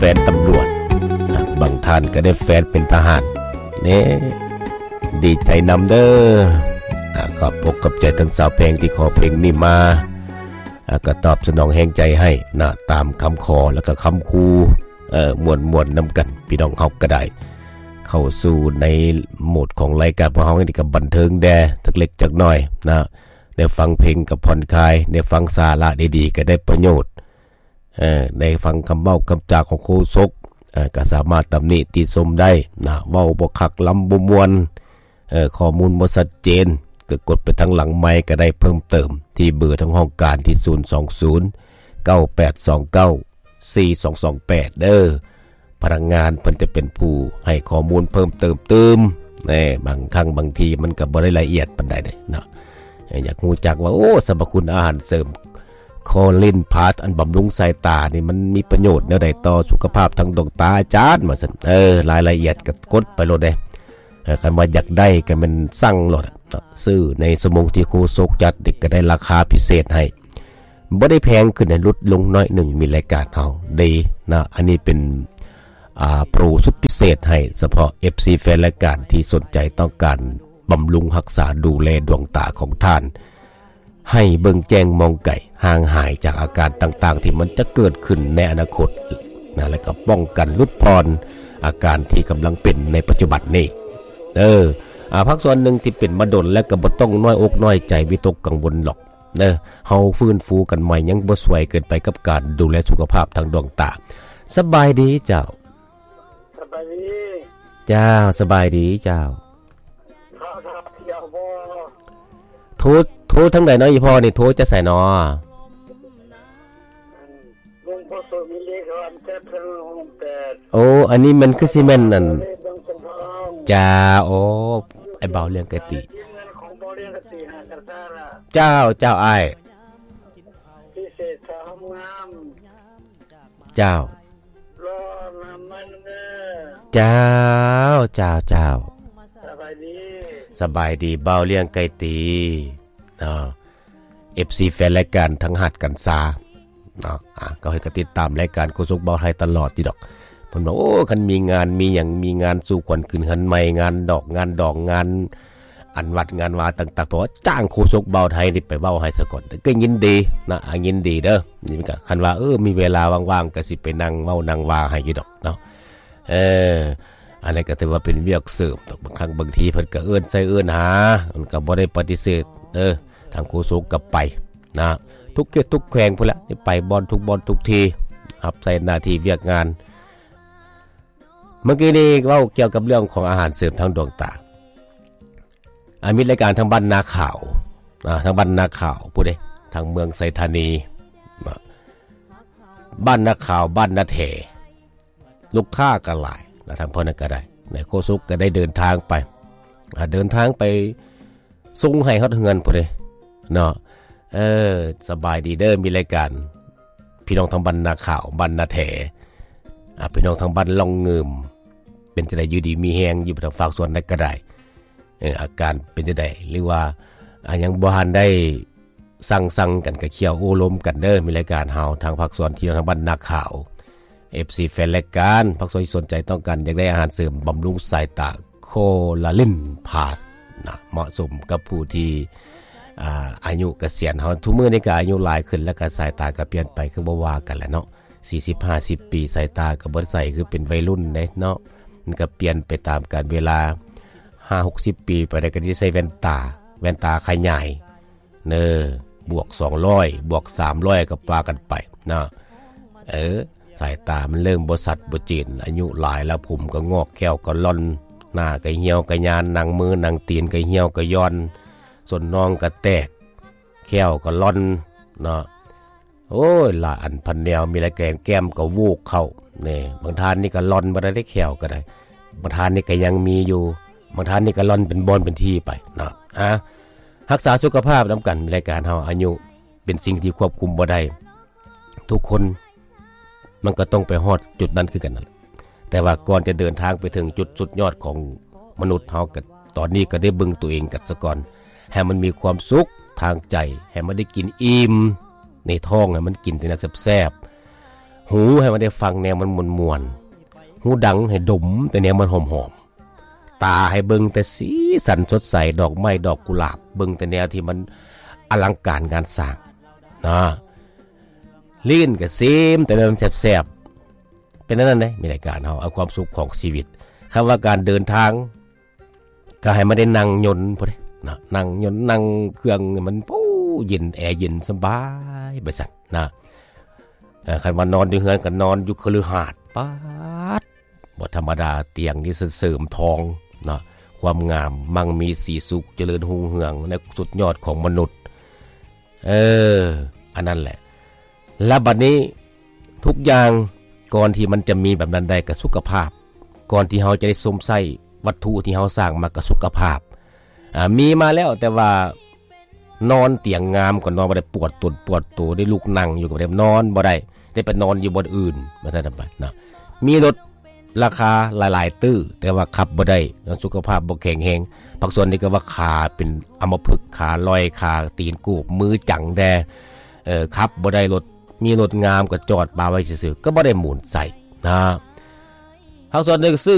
ແຟນຕຳຫຼວດ ບາງທ່ານກໍໄດ້ແຟນເປັນທະຫານແນ່ ດີໃຈນຳເດີ. ອາ ຂອບອົກຂອບໃຈທັງສາວແພງທີ່ຂໍເພງນີ້ມາ ອາ ກໍຕອບສະໜອງແຮງໃຈໃຫ້ນະ ຕາມຄຳຂໍ ແລ້ວກໍຄຳຂູ່ ເອີ ມ່ວນໆນຳກັນ ພີ່ນ້ອງເຮົາກໍໄດ້ເຂົ້າສູ່ໃນໂໝດຂອງລາຍການພວກເຮົານີ້ ກໍບັນເທີງແດ່ຈັກເລັກຈັກນ້ອຍນະ ໄດ້ຟັງເພງກໍຜ່ອນຄາຍ ໄດ້ຟັງສາລະດີໆກໍໄດ້ປະໂຫຍດ ເອີ ໄດ້ຟັງຄຳເວົ້າຄຳຈາຂອງໂຄສົກ ເອີ ກໍສາມາດຕຳໜິຕິຊົມໄດ້ນະ ເວົ້າບໍ່ຄັກ ລຳບໍ່ມ່ວນ ເອີ ຂໍ້ມູນບໍ່ຊັດເຈນ ກໍກົດໄປທາງຫຼັງໄມກ໌ກໍໄດ້ເພີ່ມເຕີມ ທີ່ເບີທາງຫ້ອງການທີ່ ສູນສອງສູນ ເກົ້າແປດສອງເກົ້າ ສີ່ສອງສອງແປດ ເດີ. ພະນັກງານເພິ່ນຈະເປັນຜູ້ໃຫ້ຂໍ້ມູນເພີ່ມເຕີມຕື່ມ ແນ່ ບາງຄັ້ງບາງທີມັນກໍບໍ່ໄດ້ລະອຽດປານໃດເດ້ເນາະ. ຢາກຮູ້ຈັກວ່າ ໂອ້ ສັບພະຄຸນອາຫານເສີມ ຄໍລິນພາສ ອັນບຳລຸງສາຍຕານີ້ ມັນມີປະໂຫຍດແນວໃດຕໍ່ສຸຂະພາບທາງດວງຕາອາຈານ ວ່າຊັ້ນ. ເອີ ລາຍລະອຽດກໍກົດໄປໂລດເດ້. ເອີ ຄັນວ່າຢາກໄດ້ກໍແມ່ນສັ່ງໂລດເນາະ ຊື້ໃນຊົ່ວໂມງທີ່ໂຄສົກຈັດນີ້ ກໍໄດ້ລາຄາພິເສດໃຫ້ ບໍ່ໄດ້ແພງຂຶ້ນໃຫ້ ຫຼຸດລົງໜ້ອຍໜຶ່ງ. ມີລາຍການເຮົາເດ້ນະ ອັນນີ້ເປັນ ອ່າ ໂປຣສຸດພິເສດໃຫ້ສະເພາະເອັຟຊີແຟນລາຍການທີ່ສົນໃຈຕ້ອງການບຳລຸງຮັກສາດູແລດວງຕາຂອງທ່ານ ໃຫ້ເບິ່ງແຈ້ງມອງໄກ ຫ່າງຫາຍຈາກອາການຕ່າງໆທີ່ມັນຈະເກີດຂຶ້ນໃນອະນາຄົດນະ ແລ້ວກໍປ້ອງກັນຫຼຸດຜ່ອນອາການທີ່ກຳລັງເປັນໃນປັດຈຸບັນນີ້. ເອີ ອາ ພາກສ່ວນໜຶ່ງທີ່ເປັນມາດົນແລ້ວກໍບໍ່ຕ້ອງນ້ອຍອົກນ້ອຍໃຈ ວິຕົກກັງວົນດອກເດີ. ເຮົາຟື້ນຟູກັນໃໝ່ ຍັງບໍ່ສວຍເກີນໄປກັບການດູແລສຸຂະພາບທາງດວງຕາ. ສະບາຍດີເຈົ້າ. ສະບາຍດີ. ເຈົ້າ ສະບາຍດີເຈົ້າ. ໂທ ໂທທາງໃດເນາະ ອີ່ພໍ່ນີ້? ໂທຈາກໃສເນາະ? ໂອ້ ອັນນີ້ມັນຄືຊິແມ່ນອັນ ເຈົ້າ ໂອ້ ອ້າຍບ່າວລ້ຽງໄກ່ຕີ. ເຈົ້າ ເຈົ້າອ້າຍ. ເຈົ້າ ເຈົ້າ ເຈົ້າ ເຈົ້າ. ສະບາຍດີ ສະບາຍດີບ່າວລ້ຽງໄກ່ຕີເນາະ. ເອັຟຊີແຟນລາຍການທັງຮັກກັນຊາເນາະ ອາ ກໍເພິ່ນກໍຕິດຕາມລາຍການໂຄສົກບ່າວໄທຕະຫຼອດຢູ່ດອກ. ເພິ່ນວ່າ ໂອ້ ຄັນມີງານມີຫຍັງ ມີງານສູ່ຂວັນຂຶ້ນເຮືອນໃໝ່ ງານດອກງານດອງ ງານ ອັນວັດງານວາຕ່າງໆ ເພາະວ່າຈ້າງໂຄສົກບ່າວໄທນີ້ໄປເວົ້າໃຫ້ສາກ່ອນ ກໍຍິນດີນະ ອາ ຍິນດີເດີ. ນີ້ມັນກໍ ຄັນວ່າ ເອີ ມີເວລາວ່າງໆ ກໍຊິໄປນັ່ງເວົ້ານັ່ງວ່າໃຫ້ຢູ່ດອກເນາະ. ເອີ ອັນນັ້ນກໍຖືວ່າເປັນວຽກເສີມດອກ. ບາງຄັ້ງບາງທີເພິ່ນກໍເອີ້ນໃສ່ເອີ້ນຫາ ມັນກໍບໍ່ໄດ້ປະຕິເສດເດີ. ທາງໂຄສົກກໍໄປນະ ທຸກເຂດທຸກແຂວງພຸ້ນແຫຼະ ໄປບ່ອນທຸກບ່ອນທຸກທີ່ ຮັບໃຊ້ໜ້າທີ່ວຽກງານ. ເມື່ອກີ້ນີ້ເວົ້າກ່ຽວກັບເລື່ອງຂອງອາຫານເສີມທາງດວງຕາ ອາ ມີລາຍການທາງບ້ານນາຂາວ ອາ ທາງບ້ານນາຂາວ ຜູ້ໃດ ທາງເມືອງໄຊທານີນະ ບ້ານນາຂາວ ບ້ານນາແຖ ລູກຄ້າກໍຫຼາຍນະ ທາງພວກນັ້ນກໍໄດ້ນະ ໂຄສົກກໍໄດ້ເດີນທາງໄປ ອາ ເດີນທາງໄປ ສົ່ງໃຫ້ຮອດເຮືອນພຸ້ນເດ້ເນາະ. ເອີ ສະບາຍດີເດີ ມີລາຍການ ພີ່ນ້ອງທາງບ້ານນາຂາວ ບ້ານນາແຖ ອາ ພີ່ນ້ອງທາງບ້ານລ່ອງງື່ມ ເປັນຈັ່ງໃດ ຢູ່ດີມີແຮງຢູ່ທາງພາກສ່ວນໃດກໍໄດ້ ເອີ ອາການເປັນຈັ່ງໃດ ຫຼືວ່າ ອາ ຍັງບໍ່ທັນໄດ້ສັ່ງສັງກັນ ກໍຄ່ຽວໂອ້ລົມກັນເດີ. ມີລາຍການເຮົາທາງພາກສ່ວນທີ່ທາງບ້ານນາຂາວ ເອັຟຊີແຟນລາຍການ ພາກສ່ວນທີ່ສົນໃຈຕ້ອງການຢາກໄດ້ອາຫານເສີມບຳລຸງສາຍຕາ ໂຄລາລິນພາສນະ ເໝາະສົມກັບຜູ້ທີ່ ອ່າ ອາຍຸກະສຽນເຮົາ ທຸກມື້ນີ້ກໍອາຍຸຫຼາຍຂຶ້ນ ແລ້ວກໍສາຍຕາກໍປ່ຽນໄປ ຄືບໍ່ວ່າກັນແຫຼະເນາະ. ສີ່ສິບ ຫ້າສິບປີ ສາຍຕາກໍບໍ່ໄດ້ໃສຄືເປັນໄວລຸ້ນເດ້ເນາະ ມັນກໍປ່ຽນໄປຕາມການເວລາ. ຫ້າຫົກສິບປີໄປແລ້ວກໍໄດ້ໃສ່ແວ່ນຕາ ແວ່ນຕາຂະຫຍາຍ ເນີ ບວກສອງຮ້ອຍ ບວກສາມຮ້ອຍ ກໍວ່າກັນໄປເນາະ. ເອີ ສາຍຕາມັນເລີ່ມບໍ່ຊັດບໍ່ເຈນ ອາຍຸຫຼາຍແລ້ວ ຜົມກໍງອກ ແຂ້ວກໍລ່ອນ ໜ້າກໍຫ່ຽວກໍຍານ ໜັງມືໜັງຕີນກໍຫ່ຽວກໍຢ່ອນ ສົ້ນໜອງກໍແຕກ ແຂ້ວກໍລ່ອນເນາະ. ໂອ້ຍ ຫຼາຍອັນພັນແນວ ມີຫຼາຍແກນ ແກ້ມກໍໂຫວກເຂົ້າເນ ບາງທ່ານນີ້ກໍລ່ອນບໍ່ໄດ້ເດ້ ແຂ້ວກໍໄດ້ ບາງທ່ານນີ້ກໍຍັງມີຢູ່ ບາງທ່ານນີ້ກໍລ່ອນເປັນບ່ອນເປັນທີ່ໄປເນາະ. ອາ ຮັກສາສຸຂະພາບນຳກັນ ລາຍການເຮົາ ອາຍຸເປັນສິ່ງທີ່ຄວບຄຸມບໍ່ໄດ້ ທຸກຄົນມັນກໍຕ້ອງໄປຮອດຈຸດນັ້ນຄືກັນນັ້ນແຫຼະ ແຕ່ວ່າກ່ອນຈະເດີນທາງໄປເຖິງຈຸດສຸດຍອດຂອງມະນຸດເຮົາ ກໍຕອນນີ້ກໍໄດ້ເບິ່ງຕົວເອງກັນສາກ່ອນ ໃຫ້ມັນມີຄວາມສຸກທາງໃຈ ໃຫ້ມັນໄດ້ກິນອີ່ມໃນທ້ອງ ໃຫ້ມັນກິນແຕ່ແນວແຊບ ຫູໃຫ້ມັນໄດ້ຟັງແນວມັນມ່ວນໆ, ຫູດັງໃຫ້ດົມແຕ່ແນວມັນຫອມໆ, ຕາໃຫ້ເບິ່ງແຕ່ສີສັນສົດໃສ, ດອກໄມ້ດອກກຸຫຼາບ, ເບິ່ງແຕ່ແນວທີ່ມັນອະລັງການງານສ້າງນະ, ລີ້ນກໍຊີມແຕ່ແນວມັນແຊບໆ. ເປັນອັນນັ້ນເດ້ ມີລາຍການເຮົາເອົາຄວາມສຸກຂອງຊີວິດ. ຄຳວ່າການເດີນທາງ ກໍໃຫ້ມັນໄດ້ນັ່ງຍົນພຸ້ນເດ້ເນາະ, ນັ່ງຍົນນັ່ງເຄື່ອງໃຫ້ມັນ ໂອ້ ເຢັນ ແອເຢັນສະບາຍໄປຊັ້ນນະ. ເອີ ຄັນວ່ານອນຢູ່ເຮືອນກໍນອນຢູ່ຄະລືຫາດ ປາດ ບໍ່ທຳມະດາ, ຕຽງນີ້ເສີມທອງເນາະ, ຄວາມງາມ ມັ່ງມີສີສຸກ ຈະເລີນຮຸ່ງເຮືອງໃນສຸດຍອດຂອງມະນຸດ. ເອີ ອັນນັ້ນແຫຼະ. ແລ້ວບັດນີ້ທຸກຢ່າງກ່ອນທີ່ມັນຈະມີແບບນັ້ນໄດ້ກໍສຸຂະພາບ, ກ່ອນທີ່ເຮົາຈະໄດ້ຊົມໃຊ້ວັດຖຸທີ່ເຮົາສ້າງມາກໍສຸຂະພາບ. ອາ ມີມາແລ້ວ ແຕ່ວ່ານອນຕຽງງາມກໍນອນບໍ່ໄດ້, ປວດຕົນປວດໂຕ, ໄດ້ລຸກນັ່ງຢູ່ກໍບໍ່ໄດ້, ນອນບໍ່ໄດ້, ໄດ້ໄປນອນຢູ່ບ່ອນອື່ນ ວ່າຊັ້ນໄປເນາະ. ມີລົດ ລາຄາຫຼາຍໆຕື້ ແຕ່ວ່າຂັບບໍ່ໄດ້, ສຸຂະພາບບໍ່ແຂງແຮງ. ພາກສ່ວນນີ້ກໍວ່າຂາເປັນອຳມະພຶກ, ຂາລອຍ, ຂາຕີນກູບ, ມືຈັງແດ່, ເອີ ຂັບບໍ່ໄດ້ລົດ, ມີລົດງາມກໍຈອດປະໄວ້ຊື່ໆ ກໍບໍ່ໄດ້ໝູນໃສ່ນະ. ພາກສ່ວນໜຶ່ງຊື້